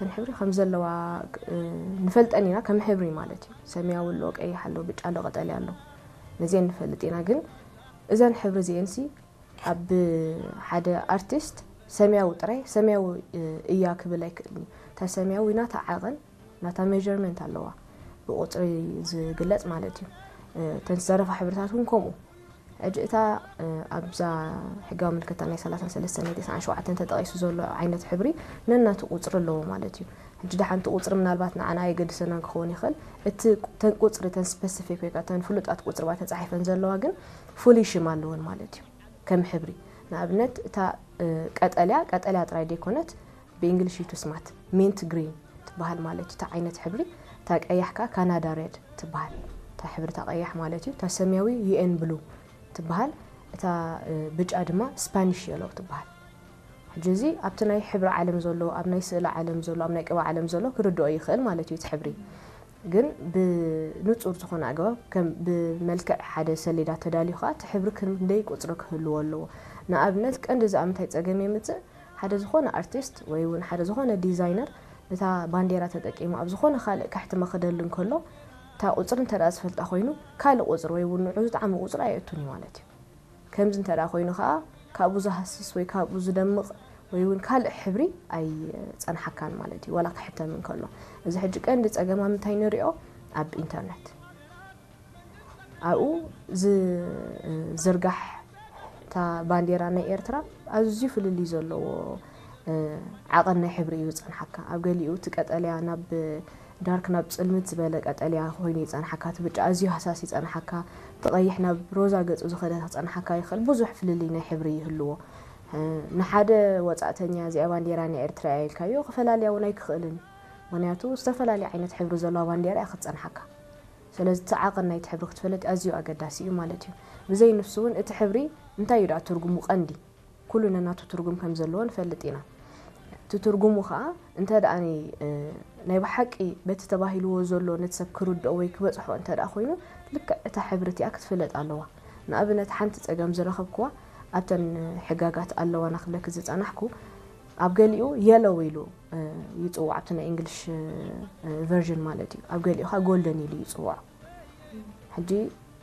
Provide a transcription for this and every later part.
እተን ሕብሪ ከም ዘለዋ ንፈልጠን ኢና፣ ከም ሕብሪ ማለት እዩ። ሰማያዊ ኣሎ፣ ቀይሕ ኣሎ፣ ብጫ ኣሎ፣ ቀጠልያ ኣሎ፣ ነዚአን ንፈልጥ ኢና። ግን እዘን ሕብሪ እዚአንሲ ኣብ ሓደ ኣርቲስት ሰማያዊ ጥራይ ሰማያዊ እያ ክብል ኣይክእልን እዩ። እታ ሰማያዊ ናታ ዓቐን ናታ ሜርመንት ኣለዋ፣ ብቁፅሪ ዝግለፅ ማለት እዩ። እተን ዝተረፋ ሕብርታት እውን ከምኡ። ሕጂ እታ ኣብዛ ሕጋዊ ምልክታ ናይ ሰላሳን ሰለስተን ናይ ተስዓን ሸውዓተን ተጠቒሱ ዘሎ ዓይነት ሕብሪ ነናቱ ቁፅሪ ኣለዎ ማለት እዩ። ሕጂ ደሓንቲ ቁፅሪ ምናልባት ንዓና ኣየገድሰናን ክኸውን ይኽእል። እቲ ተን ቁፅሪ ተን ስፐሲፊክ ወይ ከዓ ተን ፍሉጣት ቁፅሪ ባ ተፃሒፈን ዘለዋ ግን ፍሉይ ሽም ኣለወን ማለት እዩ። ከም ሕብሪ ንኣብነት እታ ቀጠልያ ቀጠልያ ጥራይ ደይኮነት ብእንግሊሽ እዩ ትስማት ሜንት ግሪን ትበሃል ማለት እዩ። እታ ዓይነት ሕብሪ እታ ቀያሕ ከዓ ካናዳ ሬድ ትበሃል። እታ ሕብሪ እታ ቀያሕ ማለት እዩ። እታ ሰማያዊ ዩኤን ብሉ ትበሃል። እታ ብጫ ድማ ስፓኒሽ የሎ ትበሃል። ሕጂ እዚ ኣብቲ ናይ ሕብሪ ዓለም ዘሎ፣ ኣብ ናይ ስእሊ ዓለም ዘሎ፣ ኣብ ናይ ቅባ ዓለም ዘሎ ክርድኦ ይኽእል ማለት እዩ እቲ ሕብሪ። ግን ብንጹር ዝኾነ ኣገባብ ከም ብመልክዕ ሓደ ሰሌዳ ተዳልዩ ከኣ እቲ ሕብሪ ክንደይ ቁጽሪ ክህልዎ ኣለዎ። ንኣብነት ቀንዲ እዚ ኣብ ምንታይ ጸገም የምጽእ? ሓደ ዝኾነ ኣርቲስት ወይ እውን ሓደ ዝኾነ ዲዛይነር ነታ ባንዴራ ተጠቂሙ ኣብ ዝኾነ ካልእ ከሕትማ ክደሊ እንከሎ እታ ቁጽሪ እንተ ደኣ ዝፈልጣ ኮይኑ ካልእ ቁጽሪ ወይ እውን ንዑ ዝጠዓመ ቁጽሪ ኣየእቱን እዩ ማለት እዩ። ከምዚ እንተ ደኣ ኮይኑ ከኣ ካብኡ ዝሃስስ ወይ ካብኡ ዝደምቕ ወይ እውን ካልእ ሕብሪ ኣይጸንሓካን ማለት እዩ ዋላ ክሕተም እንከሎ። እዚ ሕጂ ቀንዲ ጸገም ኣብ ምንታይ ንሪኦ? ኣብ ኢንተርነት ኣብኡ ዝዝርጋሕ እታ ባንዴራ ናይ ኤርትራ ኣዝዩ ፍልልይ ዘለዎ ዓቐን ናይ ሕብሪ እዩ ዝጸንሓካ። ኣብ ገሊኡ እቲ ቀጠልያ ናብ ዳርክ ናብ ጽልምት ዝበለ ቀጠልያ ኮይኑ ይጸንሓካ፣ እቲ ብጫ ኣዝዩ ሃሳስ ይጸንሓካ፣ እቲ ቀይሕ ናብ ሮዛ ገጹ ዝኸደ ክጸንሓካ ይኽእል። ብዙሕ ፍልልይ ናይ ሕብሪ ይህልዎ። ንሓደ ወጻእተኛ እዚኣ ባንዴራ ናይ ኤርትራ እያ ኢልካዮ ክፈላልያ እውን ኣይክኽእልን እዩ። ምኽንያቱ ዝተፈላለየ ዓይነት ሕብሪ ዘለዋ ባንዴራ እያ ክትጸንሓካ። ስለዚ እቲ ዓቐን ናይቲ ሕብሪ ክትፈልጥ ኣዝዩ ኣገዳሲ እዩ ማለት እዩ። ብዘይ ንሱ እውን እቲ ሕብሪ እንታይ እዩ ደኣ ትርጉሙ ቀንዲ? ኩሉ ነናቱ ትርጉም ከም ዘለዎ ንፈልጥ ኢና። እቲ ትርጉሙ ኸኣ እንተ ደኣ ናይ ብሓቂ በቲ ተባሂልዎ ዘሎ ነቲ ሰብ ክርድኦ ወይ ክበጽሖ እንተ ደኣ ኮይኑ ልክዕ እታ ሕብሪ እቲኣ ክትፍለጥ ኣለዋ። ንኣብነት ሓንቲ ጸገም ዝረኸብክዋ ኣብተን ሕጋጋት ኣለዋና ክብለኪ ዝጸናሕኩ ኣብ ገሊኡ የሎው ኢሉ ይጽውዕ ኣብቲ ናይ እንግሊሽ ቨርዥን ማለት እዩ። ኣብ ገሊኡ ኸኣ ጎልደን ኢሉ ይጽውዖ። ሕጂ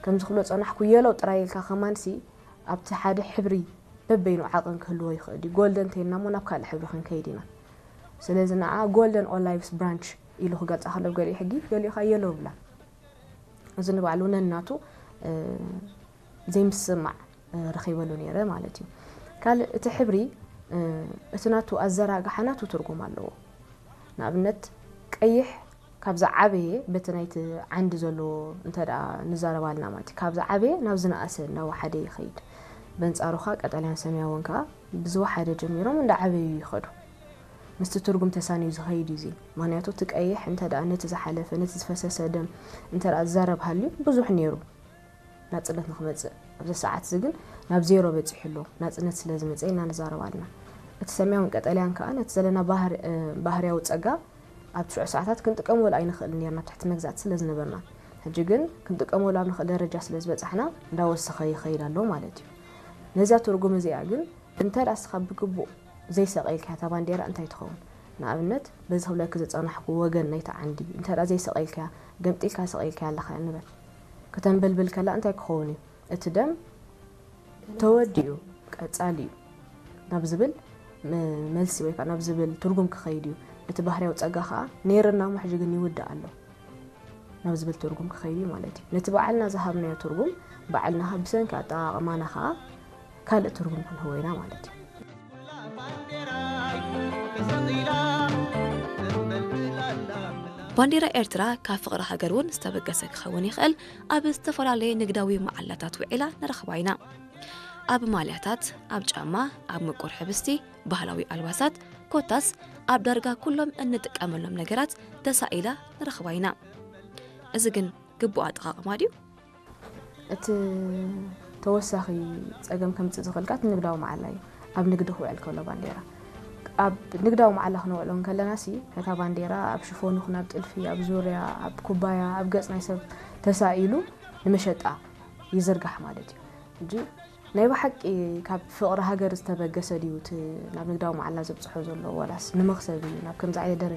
ከምዚ ክብሎ ጸናሕኩ የሎው ጥራይ ኢልካ ከማንሲ ኣብቲ ሓደ ሕብሪ በበይኑ ዓቐን ክህልዎ ይኽእል እዩ። ጎልደን እንተይልና እሞ ናብ ካልእ ሕብሪ ክንከይድ ኢና። ስለዚ ንዓ ጎልደን ኦላይቭስ ብራንች ኢሉ ክገልጻ ከሎ ብገሊኡ ሕጊ ገሊኡ ኸኣ የሎው ይብላ። እዚ ንባዕሉ ነናቱ ዘይምስምማዕ ረኺበሉ ነይረ ማለት እዩ። ካልእ እቲ ሕብሪ እቲ ናቱ ኣዘራግሓ ናቱ ትርጉም ኣለዎ። ንኣብነት ቀይሕ ካብ ዝዓበየ በቲ ናይቲ ዓንዲ ዘሎ እንተ ደኣ ንዛረብ ኣለና ማለት እዩ። ካብ ዝዓበየ ናብ ዝነኣሰ እናወሓደ ይኸይድ። በንጻሩ ኸኣ ቀጠልያን ሰማያውን ከኣ ብዝወሓደ ጀሚሮም እንዳዓበዩ ይኸዱ። ምስቲ ትርጉም ተሳንዩ ዝኸይድ እዩ እዚ። ምኽንያቱ እቲ ቀይሕ እንተ ደኣ ነቲ ዝሓለፈ ነቲ ዝፈሰሰ ደም እንተ ደኣ ዝዛረብ ሃልዩ ብዙሕ ነይሩ። ናጽነት ንኽመጽእ ኣብዚ ሰዓት እዚ ግን ናብ ዜሮ በጺሑ ኣሎ። ናጽነት ስለ ዝመጸ ኢና ንዛረብ ኣለና። እቲ ሰማያውን ቀጠልያን ከኣ ነቲ ዘለና ባህርያዊ ጸጋ ኣብ ትሽዑ ሰዓታት ክንጥቀመሉ ኣይንኽእልን ነርና ኣብ ትሕቲ መግዛእቲ ስለ ዝነበርና። ሕጂ ግን ክንጥቀመሉ ኣብ ንኽእል ደረጃ ስለ ዝበጻሕና እንዳወሰኸ ይኸይድ ኣሎ ማለት እዩ። ነዛ ትርጉም እዚኣ ግን እንተ ደኣ እስኻ ብግቡእ ዘይሰቐልካያ እታ ባንዴራ እንታይ ትኸውን? ንኣብነት በዚ ክብለኪ ዝጸናሕኩ ወገን ናይቲ ዓንዲ እንተ ደኣ ዘይሰቐልካያ ገምጢልካ ሰቒልካያ ኣለኻ ንበል። ከተንበልብል ከላ እንታይ ክኸውን እዩ? እቲ ደም ተወዲኡ ቀጻሊ እዩ ናብ ዝብል መልሲ ወይ ከዓ ናብ ዝብል ትርጉም ክኸይድ እዩ። እቲ ባህርያዊ ጸጋ ከዓ ነይርና እሞ ሕጂ ግን ይውዳእ ኣሎ ናብ ዝብል ትርጉም ክኸይድ እዩ ማለት እዩ። ነቲ ባዕልና ዝሃብናዮ ትርጉም ባዕልና ብሰንኪ ኣጠቓቕማና ከዓ ካልእ ትርጉም ክንህቦ ኢና ማለት እዩ። ባንዴራ ኤርትራ ካብ ፍቕሪ ሃገር እውን ዝተበገሰ ክኸውን ይኽእል። ኣብ ዝተፈላለየ ንግዳዊ መዓላታት ውዒላ ንረኽባ ኢና። ኣብ ማልያታት፣ ኣብ ጫማ፣ ኣብ ምቁር ሕብስቲ፣ ባህላዊ ኣልባሳት፣ ኮታስ ኣብ ዳርጋ ኩሎም እንጥቀመሎም ነገራት ተሳኢላ ንረኽባ ኢና። እዚ ግን ግቡእ ኣጠቓቕማ ድዩ? እቲ ተወሳኺ ጸገም ከምጽእ ዝኽእል ከኣ እቲ ንግዳዊ መዓላ እዩ። ኣብ ንግዲ ክውዕል ከሎ ባንዴራ ኣብ ንግዳዊ መዓላ ክነውዕሎ እንከለና ሲ ነታ ባንዴራ ኣብ ሽፎን ይኹን ኣብ ጥልፊ ኣብ ዙርያ ኣብ ኩባያ ኣብ ገጽ ናይ ሰብ ተሳኢሉ ንመሸጣ ይዝርጋሕ ማለት እዩ። ሕጂ ናይ ብሓቂ ካብ ፍቕሪ ሃገር ዝተበገሰ ድዩ እቲ ናብ ንግዳዊ መዓላ ዘብጽሖ ዘሎ ዋላስ ንመኽሰብ እዩ ናብ ከምዚ ዓይነት ደረጃ